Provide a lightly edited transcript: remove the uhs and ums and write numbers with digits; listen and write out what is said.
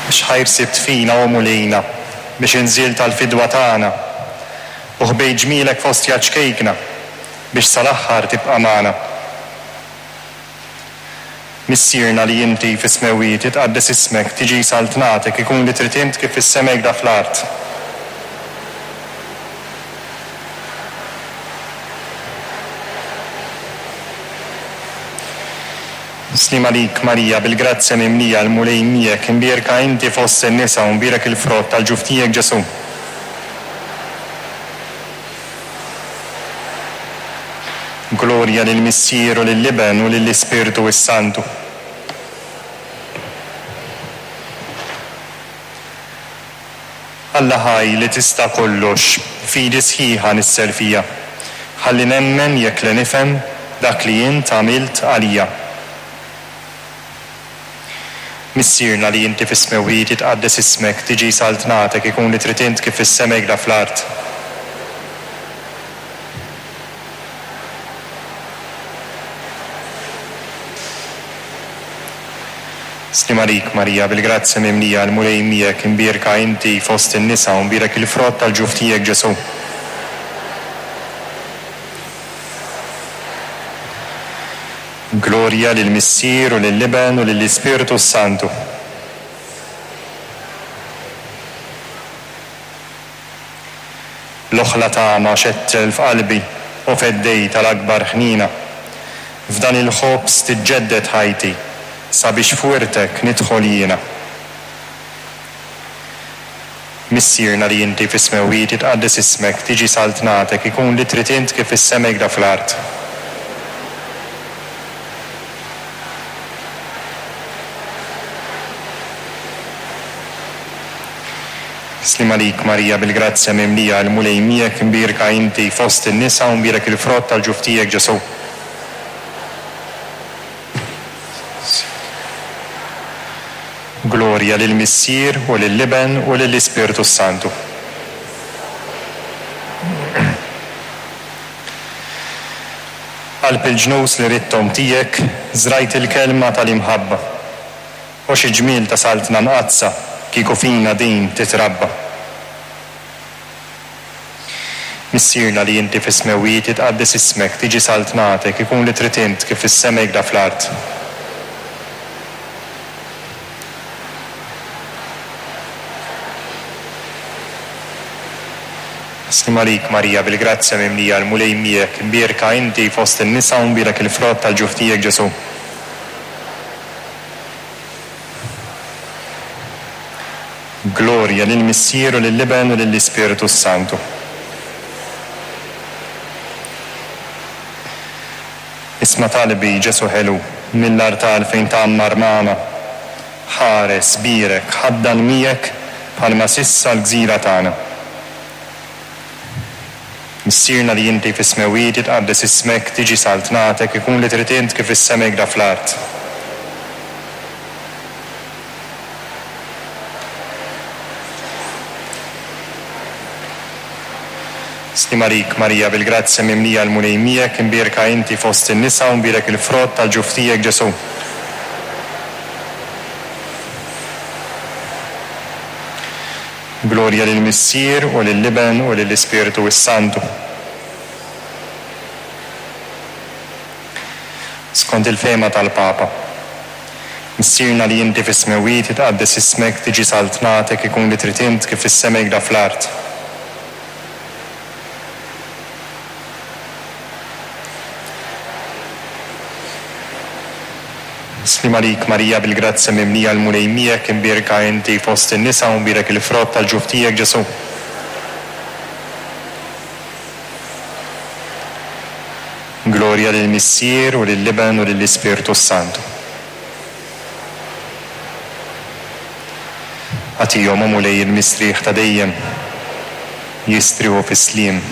X'ħajr sibt fina, o Mulejna, biex inżilt għall-fidwa tagħna, u ħbejt ġmielek f'ostja ċkejkna, biex sal-aħħar tibqa' magħna. Missierna li inti fis-smewwiet, jitqaddes ismek, tiġi saltnatek, ikun li trid int kif fis-sema hekda fl-art. Sliem għalik Marija, bil-grazzja mimlija, l-Mulej miegħek, imbierka inti fost in-nisa u mbierek il-frott tal-ġuf tiegħek Ġesù. Glorja lill-Missier u lill-Iben u lill-Ispirtu s-Santu. Alla ħaj li tista' kollox, fidi sħiħa nissel fija. Ħalli nemmen jekk le nifhem dak li int għamilt għalija. Missierna li inti fis-smewwiet jitqaddes ismek, tiġi saltnatek, ikun li trid int kif fis-sema hekk fl-art. Sliem għalik, Marija, bil-grazzja mimlija, l-Mulej miegħek, imbierka inti fost in-nisa u mbierek il-frott tal-ġuf tiegħek, Ġesù. Glorja lill-Missier u lill-Iben u lill-Ispirtu s-Santu. L-oħla tama xettel f'qalbi, o Feddej tal-akbar ħniena. F'dan il-ħobż tiġġedded ħajti, sabiex f'wirtek nidħol jiena. Missierna li inti fis-smewwiet jitqaddes ismek, tiġi saltnatek, ikun li trid int kif fis-sema hekda fl-art. Sliem għalik Marija bil-grazzja mimlija il-Mulej miegħek imbierka inti fost in-nisa u mbierek il-frott tal-ġuf tiegħek Ġesù. Glorja lill-Missier u lill-Iben u lill-Ispirtu s-Santu. Qalb il-ġnus li ridthom tiegħek żrajt il-kelma tal-imħabba. O xi ġmiel ta' Saltna Mqaddsa kieku fina din titrabba! Missierna li inti fis-smewwiet jitqaddes ismek, tiġi saltnatek, ikun li trid int kif fis-sema hekda fl-art. Sliem għalik Marija bil-grazzja mimlija l-Mulej miegħek, imbierka inti fost in-nisa u mbierek il-frott tal-ġuf tiegħek Ġesù. Glorja lill-Missier u lill-Iben u lill-Ispirtu s-Santu. Isma' talbi, Ġesù ħelu, mill-artal fejn tgħammar magħna. Ħares, bierek, ħaddan miegħek bħalma s'issa l-gżira tagħna. Missierna li inti fis-smewwiet jitqaddes ismek, tiġi saltnatek, ikun li trid int kif fis-sema hekda fl-art. Sliem għalik, Marija, bil-grazzja mimlija l-Mulej miegħek, imbierka inti fost in-nisa u mbierek il-frott tal-ġuf tiegħek, Ġesù. Glorja lill-Missier, u lill-Iben, u lill-Ispirtu s-Santu. Skont il-fehma tal-Papa. Missierna li inti fis-smewwiet, jitqaddes ismek, tiġi saltnatek, ikun li trid int kif fis-sema hekda fl-art. Sliem għalik Marija bil-grazzja mimlija l-Mulej miegħek imbierka inti fost in-nisa u mbierek il-frott tal-ġuf tiegħek Ġesù. Glorja lill-Missier u lill-Iben u lill-Ispirtu s-Santu. Agħtihom, o Mulej, il-mistrieħ ta' dejjem, jistrieħu fis-sliem.